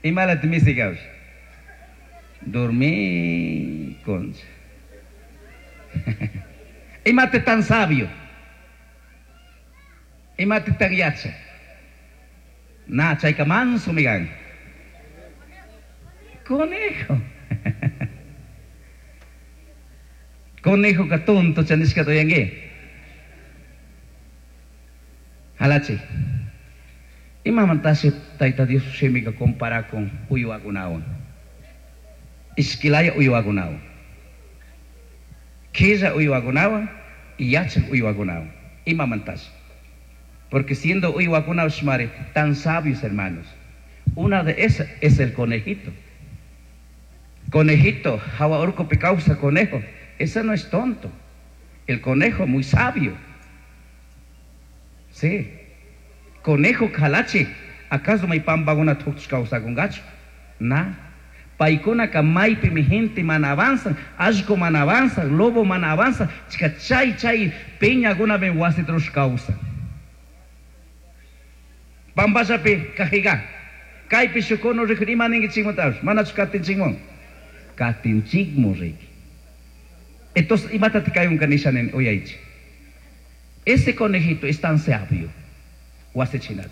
Imalat misikawsh. Dormí con. Imate tan sabio. Imate tan yacha. Na, chayka manso migan. Conejo. Conejo ka tonto chanishka toyangue. Halachi. Imamantasi tayta Dios shimika compara con uywakunawan. Ishkilaya uywakunawan. Killa uywakunawan y yachak uywakunawan. Imamantasi. Porque siendo uywakunawan tan sabios, hermanos. Una de esas es el conejito. Conejito, hawa urkupi causa conejo. Ese no es tonto. El conejo muy sabio. Sí. Conejo kalachi. ¿Acaso may pambaguna tukch causa con gacho? Na. Paikuna ka maypi mi gente man avanzan, ashko man avanzan, lobo man avanza, chica chay chay peña guna ben wasitrush causa. Pambasapi kajiga. Kaypi shukono rikun ima ninki chikmutash, manachu katinchikmun. Katinchikmun riki. Entonces, imata te cae un kanisha nen oyaichi. Ese conejito es tan sabio. Wasichinata.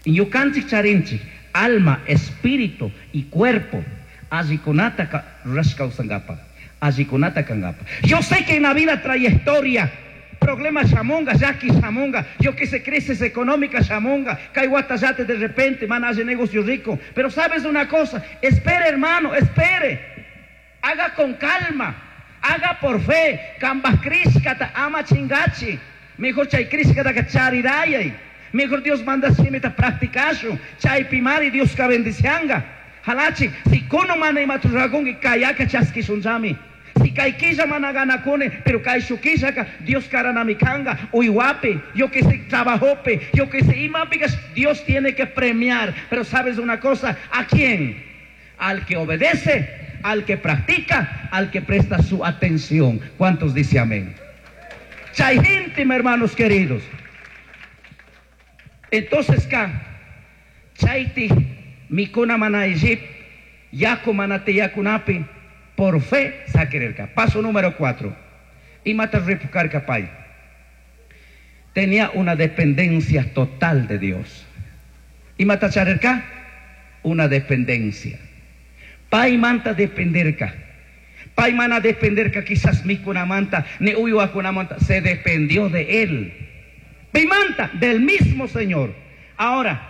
Y ñukanchik charinchik, alma, espíritu y cuerpo. Allikunata rurashka kawsankapa. Allikunata kankapa. Yo sé que en la vida trayectoria, problemas shamunga, llaki shamunga, yo que sé, crisis económica shamunga, kay wata yate de repente, man hace negocio rico. Pero sabes una cosa, espere hermano, espere. Haga con calma, haga por fe. Kambas krishkata ama chingachi. Mejor chay krishkata ka charirayay. Mejor Dios manda shimita practicashu. Chay pimari Dios ka bendicianga. Halachi, si kono mana imaturrakunki kayaka chaskishunchami. Si kay mana ganakune, pero kay shukillaka Dios karanamikanga, uywape, yo que sé trabajope, yo que sé imapikas, Dios tiene que premiar. Pero sabes una cosa, ¿a quién? Al que obedece, al que practica, al que presta su atención. ¿Cuántos dice amén? Chay gente, mis hermanos queridos. Entonces, ka, chayti mikuna mana Egypt, yaku mana tiyakunapi, por fe saquererka. Paso número cuatro. Imata ripukarka pay. Tenía una dependencia total de Dios. Imata charerka, una dependencia. Pay manta dependerka. Pay mana dependerka quizás mikuna manta, ni uyuakuna manta. Se dependió de él. Pimanta del mismo Señor. Ahora,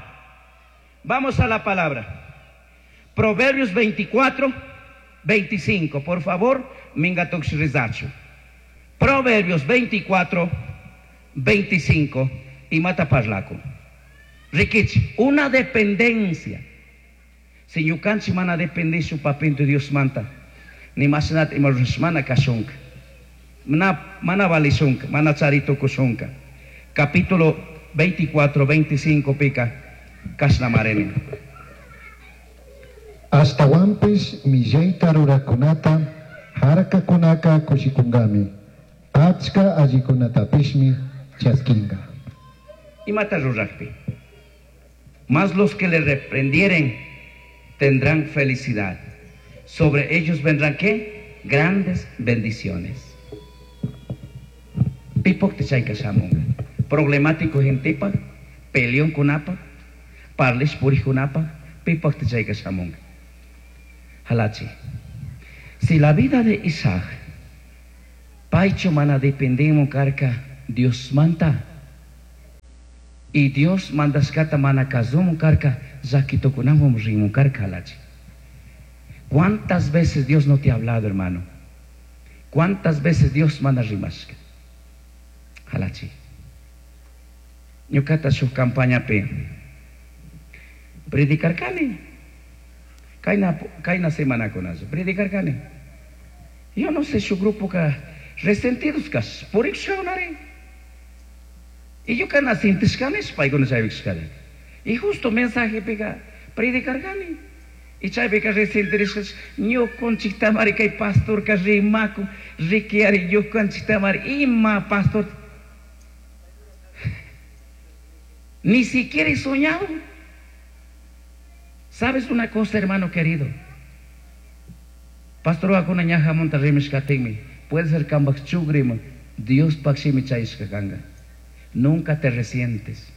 vamos a la palabra. Proverbios veinticuatro, veinticinco. Por favor, mingatoxrizacho. Proverbios veinticuatro, veinticinco. Y mata parlaco. Rikichi, una dependencia. Si ñukanchik mana depende su papito Dios manta. Ni masinat ima mana kashunka. Mana, mana valishunka, mana charito kushunka. Capítulo veinticuatro, veinticinco pica kasnamareni. Ashtawanpish millayta rurakunata harkakunaka kushikungami. Achka allikunatapishmi chaskinga. Imata rurakpi. Más los que le reprendieren tendrán felicidad. Sobre ellos vendrán ¿qué? Grandes bendiciones. Pipok te chayka shamunga. Problemático gentepa, peleón kunapa, parlish puri kunapa, pipok te chayka shamunga. Halachi. Si la vida de Isaac, paychu mana dependimos karka Dios manta. Y Dios mandashkata mana kasumun karka, llakitukunamun rimun karka halachi. ¿Cuántas veces Dios no te ha hablado, hermano? ¿Cuántas veces Dios mana rimashka? Halachi. Ñukata shuk campañapi predicarkani. Kayna, kayna semanakunachu predicarkani. Yo no sé shuk grupo ka resentidos kas purikushkakunari. Y yo kana sintishkani paykuna chaypikushkani. Y justo mensajepika predicarkani. Y chaypika resentirishkas ñukanchiktamari kay pastorka rimakun rikiari ñukanchiktamari ima pastor. Ni siquiera he soñado. ¿Sabes una cosa, hermano querido? Pastor akuna ñaja monta rimishkatinmi. Puede ser kambak chugrima. Dios pakshimi chayshka kanga. Nunca te resientes.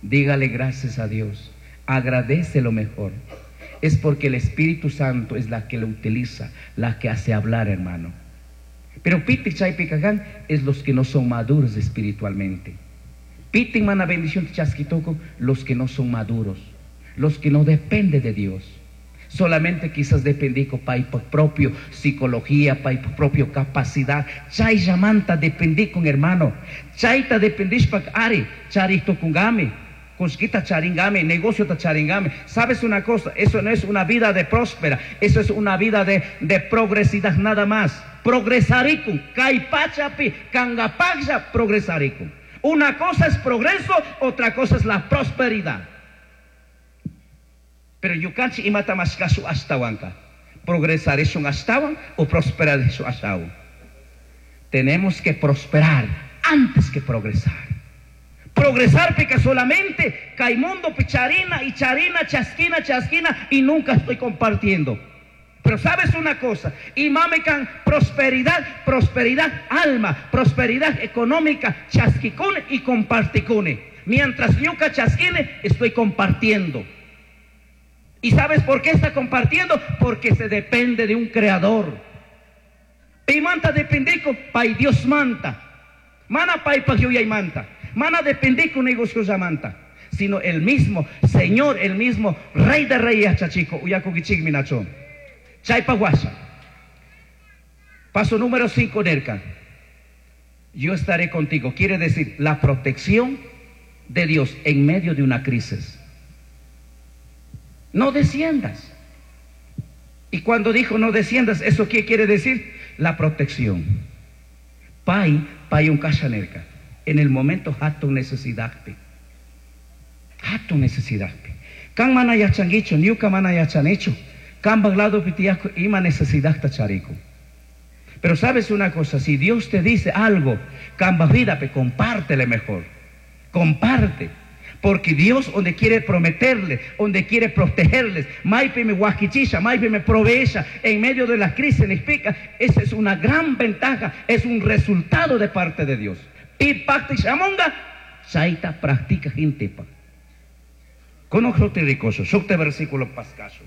Dígale gracias a Dios. Agradece lo mejor. Es porque el Espíritu Santo es la que lo utiliza, la que hace hablar, hermano. Pero piti chaypikakan es los que no son maduros espiritualmente. Piti mana bendición chasquitoco, los que no son maduros, los que no dependen de Dios. Solamente quizás dependico paipa propio psicología, paipa propio capacidad. Chay llamanta dependí con hermano. Chayta dependishpak ari, charito kungami. Cosquita charingame, negocio ta charingame. ¿Sabes una cosa? Eso no es una vida de próspera, eso es una vida de, de progresidad nada más. Progresaricum, kaipachapi, kangapagya, progresaricum. Una cosa es progreso, otra cosa es la prosperidad. Pero yukanchi imata mashkasu ashtawanka. Progresar es un ashtawan o prosperar es un ashtawan. Tenemos que prosperar antes que progresar. Progresar pica solamente caimundo picharina y charina, chasquina, chasquina y nunca estoy compartiendo. Pero sabes una cosa, y mamecan prosperidad, prosperidad alma, prosperidad económica, chasquicune y comparticune. Mientras ñuca chasquine, estoy compartiendo. ¿Y sabes por qué está compartiendo? Porque se depende de un creador. Pimanta dependico, pay Dios manta. Mana pay y manta. Mana dependico negocio manta. Sino el mismo Señor, el mismo Rey de Reyes, chachico, uyakukichik minachón. Chaypaguasha. Paso número cinco, Nerka. Yo estaré contigo. Quiere decir la protección de Dios en medio de una crisis. No desciendas. Y cuando dijo no desciendas, ¿eso qué quiere decir? La protección. Pai, pai un kashanerka. En el momento hatu necesidad. Hatu necesidad. Kan mana yachanguicho, niuka mana yachanecho. Kan baglado pitiaco ima necesidad tacharico. Pero sabes una cosa, si Dios te dice algo, kan vida, pe compártele mejor. Comparte. Porque Dios donde quiere prometerle, donde quiere protegerles, maipe me guaquichisha, maipe me proveesha, en medio de la crisis, le explica, esa es una gran ventaja, es un resultado de parte de Dios. Pi pacti shamonga, chaita practica gente pa. Conozco ricoso, sukte versículo pascaso.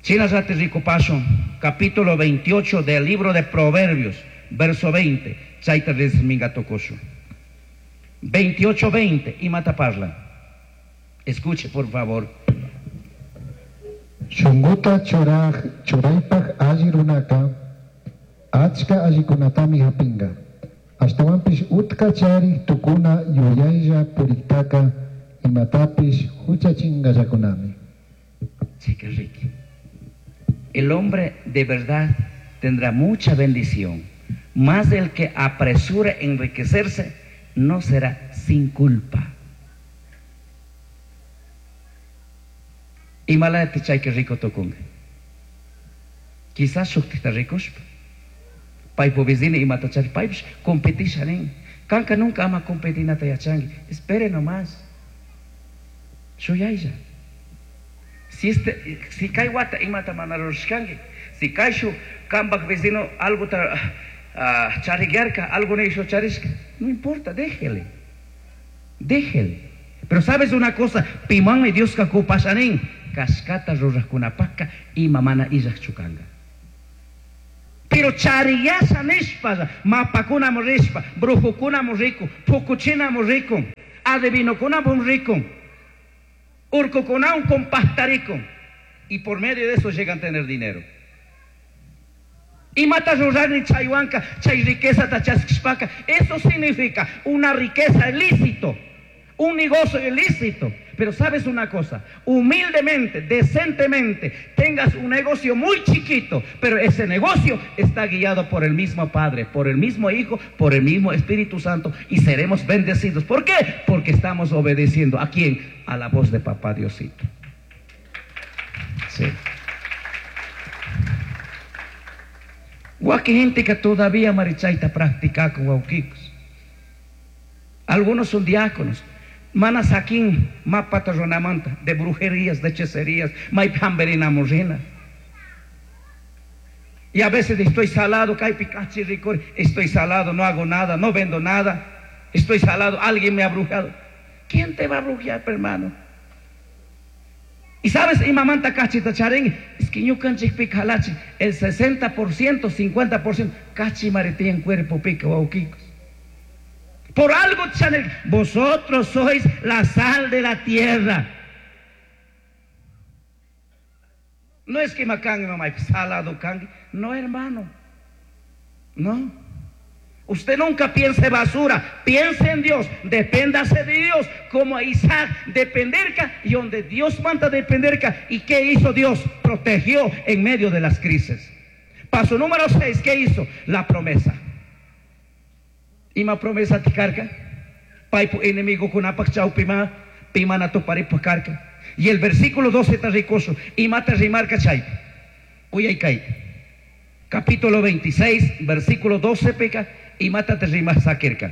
China zate rico paso, capítulo veintiocho del libro de Proverbios, verso veinte, chaita desmingatocoso. veintiocho veinte, y mata parla. Escuche, por favor. Shunguta churaj, churaypaj allirunaka, achka allikunatami hapinga. Ashtawanpish utka chari tukuna yuyaylla puriktaka imatapish huchachingallakunami. Sí, qué rico. El hombre de verdad tendrá mucha bendición. Más del que apresure enriquecerse, no será sin culpa. Y mala de chay que rico tokunga. Quizás shuktita ricos. Paipo vecino y matachar paipsh competishanen. Kanka nunca ama competir natayachangi. Espere nomás. Shuyaya. Si este, si kai wata imata manarushkangi. Si kaishu kambak vecino algo ta uh, chariguerca, algo no hizo charishka. No importa, déjele. Déjele. Pero sabes una cosa, pimanme Dios kakupashanin. Cashcata rurajkunapajka ima mana illajchu kanga. Pero chariyasha nishpa, mapakunamu rishpa, brujukunamu rikun, pukuchinamu rikun, adivinokunamu rikun, urkukunawan compactarikun. Y por medio de eso llegan a tener dinero. Imata rurarni chaywanka, chay riqueza chaskishpaka. Eso significa una riqueza ilícito, un negocio ilícito. Pero sabes una cosa, humildemente, decentemente, tengas un negocio muy chiquito, pero ese negocio está guiado por el mismo Padre, por el mismo Hijo, por el mismo Espíritu Santo, y seremos bendecidos. ¿Por qué? Porque estamos obedeciendo. ¿A quién? A la voz de Papá Diosito. Sí. Guaki gente que todavía marichaita practica con guauquicos. Algunos son diáconos. Mana saquín mapata ronamanta de brujerías, de hechicerías, maipamberina morrina. Y a veces estoy salado, caipicachi ricor, estoy salado, no hago nada, no vendo nada, estoy salado, alguien me ha brujado. ¿Quién te va a brujear, hermano? Y sabes, imamanta cachita charín, es que ñukanchik picalachi, el sesenta por ciento, cincuenta por ciento, cachi maretí en cuerpo pica, guauquicos. Por algo, Chanel, vosotros sois la sal de la tierra. No es que macangue, mamá, salado cangue. No, hermano. No. Usted nunca piense basura. Piense en Dios. Depéndase de Dios. Como Isaac dependerca y donde Dios manda dependerca. ¿Y qué hizo Dios? Protegió en medio de las crisis. Paso número seis, ¿qué hizo? La promesa. Ima promesa tikarka, paipu enemigo kunapak chau pima, pima na tuparipu karka. Y el versículo doce está ricoso, ima te rimarca chay. Uyay. Capítulo veintiséis, versículo doce peca, ima te rimar saquerca.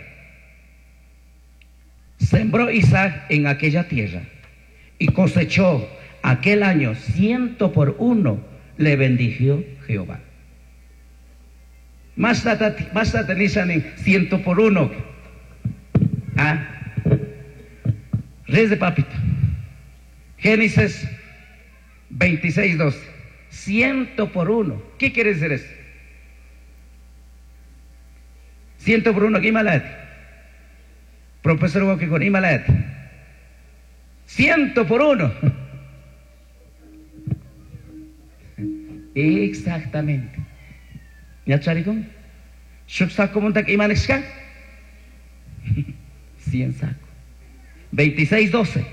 Sembró Isaac en aquella tierra y cosechó aquel año ciento por uno, le bendijo Jehová. Más en ciento por uno. Ah. Reyes de papito. Génesis veintiséis, doce. Ciento por uno. ¿Qué quiere decir eso? Ciento por uno. ¿Qué Profesor con Imalat. Ciento por uno. Exactamente. ¿Ya charicón? ¿Shuk saco montak imanexka? Cien saco. veintiséis, doce.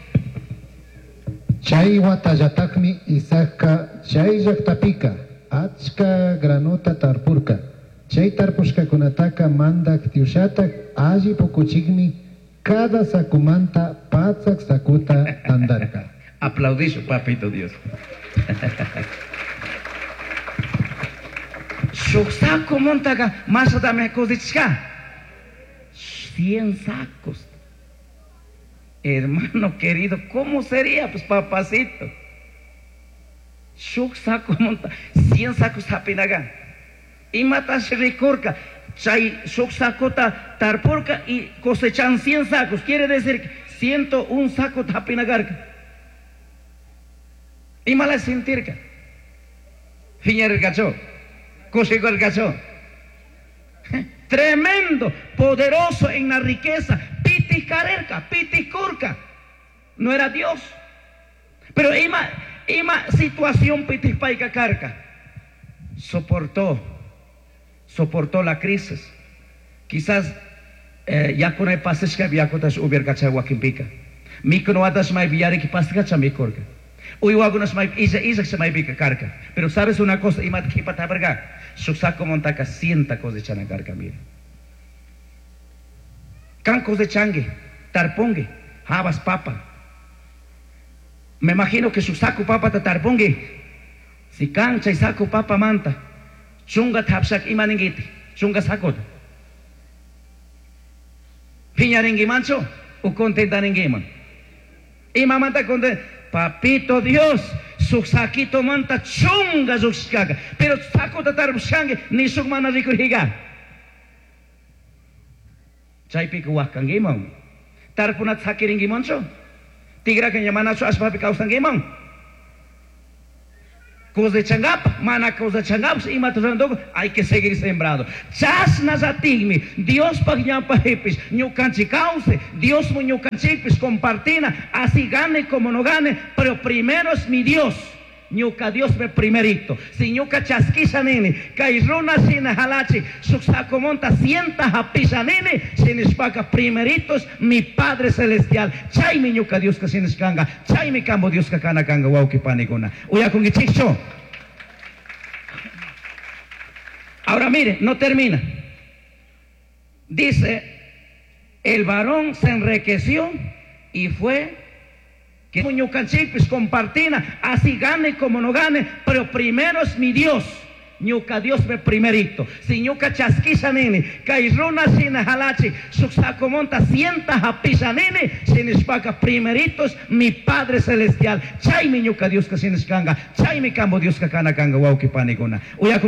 Chay watallatakmi Isaacka chay llaqtapika achka granota tarpurka. Chay tarpushkakunataka mandak tiushatak alli pukuchikmi cada sacumanta patsak sakuta tandarka. Aplaudisho, papito Dios. Shuk saco montaga, más dame cosechka. Cien sacos. Hermano querido, ¿cómo sería? Pues papacito. Shuk saco monta, cien sacos hapinaga. Y matash rikurka, chay shuk sacota tarpurka y cosechan cien sacos. Quiere decir ciento un saco hapinagarka. Y mala sentirka. Fiñer gacho. El gacho. Tremendo, poderoso en la riqueza. Pitis carerca, pitis curca. No era Dios. Pero ima, ima situación pitis paica carca. Soportó, soportó la crisis. Quizás eh, ya con el pasesca viacotas ubergacha huaquimpica. Mikonoatas mai viariki pascacha mikorka. Uyuagunas mai isa isa mai pica carca. Pero sabes una cosa, imat kipataberga. Su saco montaca sienta cosechana carca, mira. Can cosechangue, tarpongue, habas papa. Me imagino que su saco papa ta tarpongue. Si cancha y saco papa manta, chunga tapshak imaningiti, chunga sacota. Piñaringui mancho, u contentaringuiman. Imamanta content. Papito Dios, su saquito manta chunga zuxcaga, pero saco tatar buscangue ni su mana ricuriga. Chaypica huascanguiman, tarpunat saquiringuimancho, tigra que yamanacho aspapi causanguiman. Cosechangapaj, mana cosechangapaj, imata ruranduku, hay que seguir sembrando. Chashnallatikmi, Diospaj ñawpajpish, ñukanchik kawsay, Diosmu ñukanchikpish compartina, así gane como no gane, pero primero es mi Dios. Ñuka Dios me primerito. Si ñuka chaskisha nini, kay runa shina jalachi, shuk sacomonta sienta hapisha nini, shinishpaka primerito es mi Padre Celestial. Chaymi ñuka Dioska shinishkanga, chaymi kambo Dioska kana kanga wawqi panikuna. Uyakunkichikchu. Ahora mire, no termina. Dice, el varón se enriqueció y fue que ñukanchikpis compartina, así gane como no gane, pero primero es mi Dios. Ñuka Dios me primerito. Si ñuka chaskisha nini, kay runa shina jalachi, shuk sacomonta sienta hapisha nini, shinishpaka primerito es mi Padre Celestial. Chaymi ñuka Dioska shinishkanga, chaymi kambo Dioska kana kanga wawqi panikuna. Uyakunkichik.